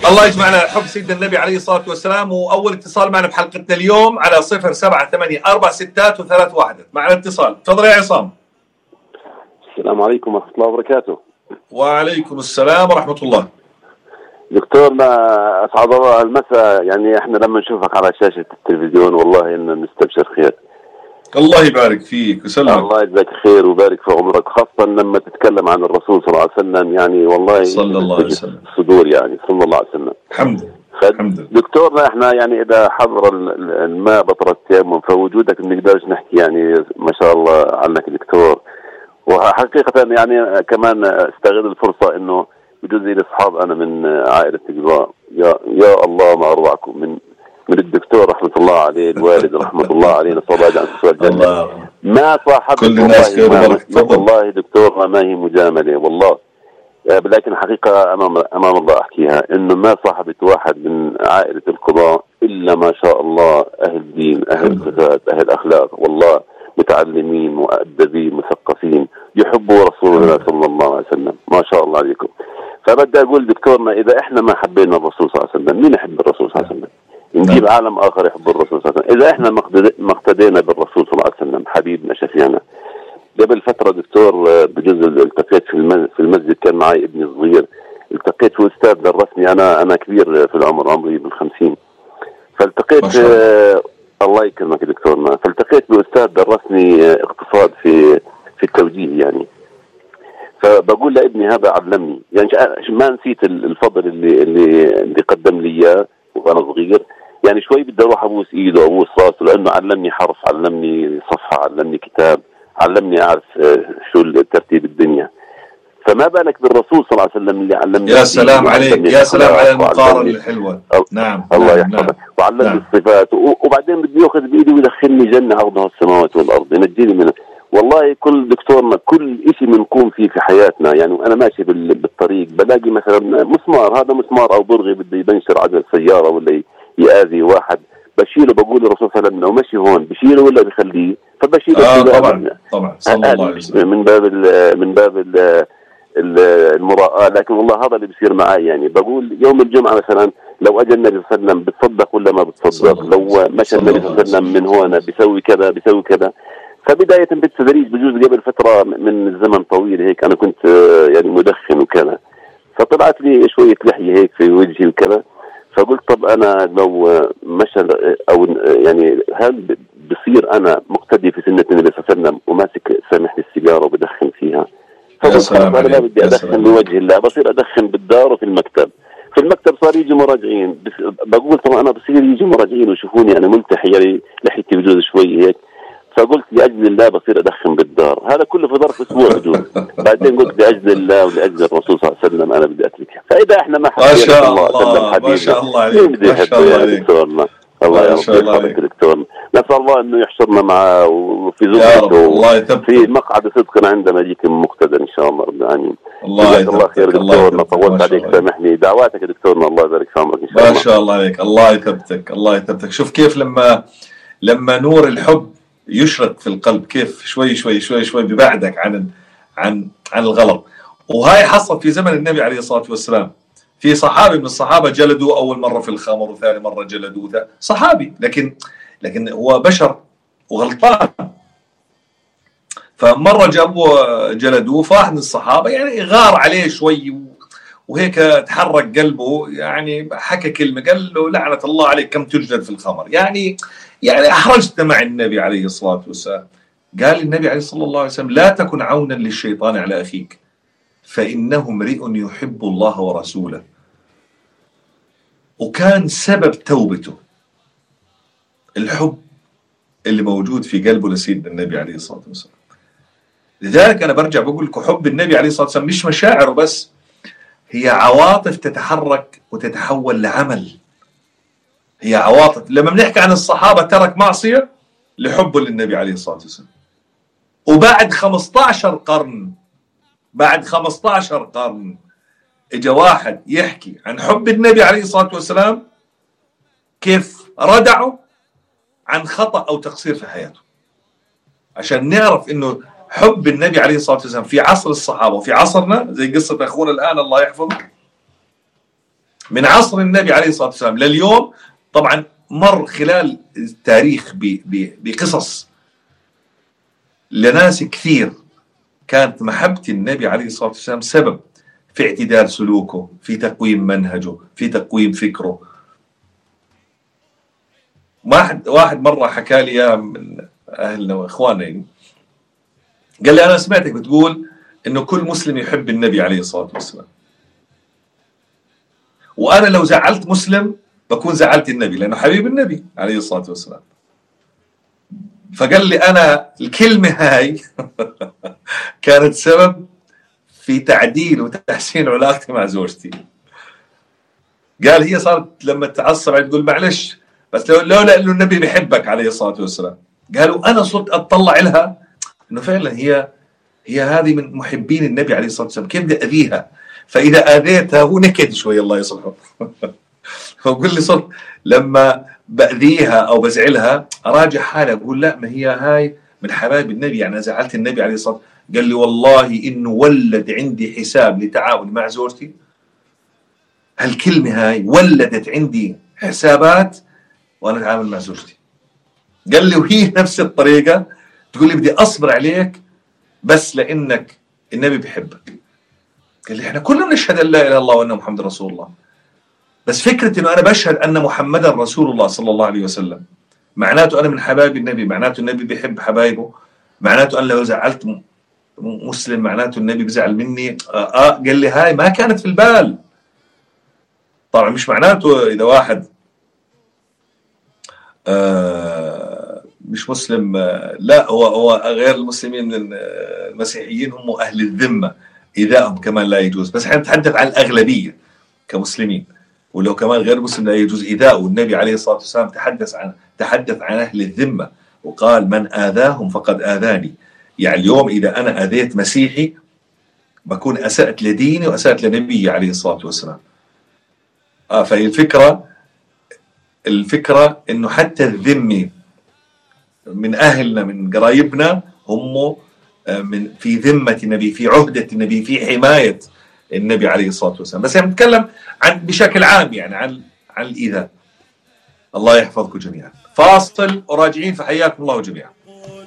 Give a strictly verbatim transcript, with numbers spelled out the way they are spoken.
الله يجمعنا على حب سيدنا النبي عليه الصلاة والسلام. وأول اتصال معنا بحلقتنا اليوم على صفر سبعة ثمانية أربع ستات وثلاث واحد. معنا اتصال، تفضل يا عصام. السلام عليكم ورحمة الله وبركاته. وعليكم السلام ورحمة الله. دكتورنا أسعد الله المساء. يعني احنا لما نشوفك على شاشة التلفزيون والله إن نستبشر خير. الله يبارك فيك وسلمك. الله يجزاك خير ويبارك في عمرك، خاصة لما تتكلم عن الرسول صلى الله عليه وسلم. يعني والله صلى الله عليه وسلم الصدور، يعني صلى الله عليه وسلم. الحمد لله. دكتورنا احنا يعني إذا حضر الماء بطل التيمم، فوجودك ما نقدرش نحكي يعني ما شاء الله عنك دكتور. وحقيقة يعني كمان استغل الفرصة إنه بجوز لي أصحاب أنا من عائلة الجزاء، يا يا الله ما أروعكم من من الدكتور رحمة الله عليه، الوالد رحمة الله عليه، نسأل الله عن سؤال الجنة. ما صاحبت كل الناس والله, والله دكتور ما هي مجاملة والله، لكن حقيقة أمام أمام الله أحكيها إنه ما صاحبت واحد من عائلة القضاء إلا ما شاء الله أهل دين، أهل صفات، أهل أخلاق، والله متعلمين مؤدبين مثقفين يحبوا رسول الله صلى الله عليه وسلم. ما شاء الله عليكم. فبدي أقول دكتورنا إذا إحنا ما حبينا الرسول صلى الله عليه وسلم، مين يحب الرسول صلى الله عليه وسلم؟ نجيب عالم آخر يحب الرسول صلى الله عليه وسلم. إذا إحنا ما اقتدينا بالرسول صلى الله عليه وسلم حبيبنا شفيعنا. قبل فترة دكتور بجزء التقيت في في المسجد، كان معي ابني الصغير، التقيت في أستاذ درسني، أنا أنا كبير في العمر، عمري بالخمسين، فالتقيت آه الله يكرمك دكتورنا، فالتقيت بأستاذ درسني اقتصاد في في التوجيه يعني. فبقول لابني هذا علمني، يعني ما نسيت الفضل اللي اللي اللي قدم لي اياه وانا صغير. يعني شوي بدي اروح ابوس ايده ابوس راسه، لانه علمني حرف، علمني صفحه، علمني كتاب، علمني اعرف شو ترتيب الدنيا. فما بالك بالرسول صلى الله عليه وسلم اللي علمني. يا سلام عليك، يا سلام على المقارنه الحلوه. نعم الله يحفظك. نعم. وعلمني نعم. الصفات، وبعدين بدي ياخذ بايدي ويدخلني جنه عرضها السماوات والارض، ينجيني منها. والله كل دكتورنا كل شيء بنقوم فيه في حياتنا، يعني انا ماشي بالطريق بلاقي مثلا مسمار، هذا مسمار او برغي بده يبنشر عجل سياره ولا يؤذي واحد، بشيله بقول للرسول صلى الله عليه وسلم لو مشي هون بشيله ولا بخليه، فبشيله. آه طبعا طبعا صلى الله عليه وسلم. من باب ال من باب ال المراءة. لكن والله هذا اللي بيصير معي، يعني بقول يوم الجمعة مثلا لو اجى النبي صلى الله عليه وسلم بتصدق ولا ما بتصدق، لو مشى النبي صلى الله عليه وسلم من هون بيسوي كذا بيسوي كذا. فبداية بالتدريج بجوز قبل فترة من الزمن طويل هيك أنا كنت يعني مدخن وكذا، فطلعت لي شوية لحية هيك في وجهي وكذا، فقلت طب أنا لو مشى أو يعني هل بصير أنا مقتدي في سنة النبي صلى الله عليه وسلم وماسك سامحني السيجارة وبدخن فيها؟ فقلت أنا ما بدي أدخن بوجه الله، بصير أدخن بالدار وفي المكتب. في المكتب صار يجي مراجعين، بقول طب أنا بصير يجي مراجعين ويشوفوني أنا ملتحي يعني لحيتي بجوز شوي هيك، فقلت لأجل الله بصير أدخن بالدار. هذا كله في ظرف أسبوع بجوز. بعدين قلت لأجل الله ولأجل الرسول صلى الله عليه وسلم أنا بدي أتركها. فإذا إحنا ما حبينا صلى الله عليه وسلم حبيبنا، ما شاء الله عليك، ما شاء الله عليك دكتورنا. الله يحفظك دكتورنا. نسأل الله إنه يحشرنا معه وفي زمرته في مقعد صدق عندما يجيك مقتدى إن شاء الله رب العالمين. الله الله خير دكتورنا، طولت عليك سامحني، دعواتك يا دكتورنا الله يبارك في عمرك إن شاء الله. ما شاء الله عليك، الله يثبتك الله يثبتك. شوف كيف لما لما نور الحب يشرق في القلب كيف شوي شوي شوي شوي بيبعدك عن عن عن الغلط. وهاي حصل في زمن النبي عليه الصلاة والسلام. في صحابي من الصحابة جلدوا أول مرة في الخمر وثاني مرة جلدوه، صحابي لكن لكن هو بشر وغلطان. فمرة جابوا جلدوه، فواحد من الصحابة يعني غار عليه شوي وهيك تحرك قلبه، يعني حكى كلمة قال له لعنة الله عليك كم تجلد في الخمر، يعني يعني أحرجتنا مع النبي عليه الصلاة والسلام. قال النبي عليه الصلاة الله عليه وسلم لا تكن عونا للشيطان على أخيك فإنه امرئ يحب الله ورسوله. وكان سبب توبته الحب اللي موجود في قلبه لسيدنا النبي عليه الصلاة والسلام. لذلك أنا برجع بقول لكم حب النبي عليه الصلاة والسلام مش مشاعره بس، هي عواطف تتحرك وتتحول لعمل. هي عواطف. لما بنحكي عن الصحابة ترك معصية لحبه للنبي عليه الصلاة والسلام. وبعد خمسة عشر قرن بعد خمسة عشر قرن اجا واحد يحكي عن حب النبي عليه الصلاة والسلام كيف ردعه عن خطأ أو تقصير في حياته، عشان نعرف إنه حب النبي عليه الصلاة والسلام في عصر الصحابة وفي عصرنا زي قصة أخونا الآن الله يحفظه من عصر النبي عليه الصلاة والسلام لليوم طبعا مر خلال التاريخ بقصص لناس كثير كانت محبة النبي عليه الصلاة والسلام سبب في اعتدال سلوكه، في تقويم منهجه، في تقويم فكره. واحد واحد مرة حكى لي من أهلنا وإخواننا يعني، قال لي أنا سمعتك بتقول إنه كل مسلم يحب النبي عليه الصلاة والسلام، وأنا لو زعلت مسلم بكون زعلت النبي لأنه حبيب النبي عليه الصلاة والسلام. فقال لي أنا الكلمة هاي كانت سبب في تعديل وتحسين علاقتي مع زوجتي. قال هي صارت لما تعصب تقول معلش بس لولا انه النبي بيحبك عليه الصلاة والسلام. قالوا انا صرت اطلع لها انه فعلا هي هي هذه من محبين النبي عليه الصلاة والسلام، كيف بدي اذيها؟ فاذا اذيتها هو نكد شوي الله يصلحه. فقل لي صرت لما باذيها او بزعلها اراجع حالي اقول لا ما هي هاي من حبايب النبي، يعني زعلت النبي عليه الصلاة والسلام. قال لي والله انه ولد عندي حساب لتعاون مع زوجتي، هالكلمة هاي ولدت عندي حسابات وانا اتعامل مع زوجتي. قال لي وهي نفس الطريقة تقول لي بدي اصبر عليك بس لانك النبي بيحبك. قال لي احنا كلنا نشهد ان لا اله الا الله وان محمد رسول الله، بس فكرة انه انا بشهد ان محمدا رسول الله صلى الله عليه وسلم معناته انا من حبايب النبي، معناته النبي بيحب حبايبه، معناته انا لو زعلت مسلم معناته النبي بيزعل مني. آه, اه قال لي هاي ما كانت في البال. طبعا مش معناته اذا واحد آه مش مسلم آه لا هو هو غير المسلمين من المسيحيين هم اهل الذمه ايذائهم كمان لا يجوز، بس احنا نتحدث عن الاغلبيه كمسلمين، ولو كمان غير مسلم لا يجوز ايذاءه. والنبي عليه الصلاه والسلام تحدث عن تحدث عن اهل الذمه وقال من اذاهم فقد اذاني. يعني اليوم اذا انا اذيت مسيحي بكون اسأت لديني واسأت لنبي عليه الصلاه والسلام. آه فهي الفكرة الفكرة إنه حتى الذمي من أهلنا من قرايبنا هم من في ذمة النبي، في عهدة النبي، في حماية النبي عليه الصلاة والسلام. بس يعني نتكلم عن بشكل عام يعني عن عن الإيذاء. الله يحفظكم جميعا. فاصل وراجعين، فحياكم الله جميعا.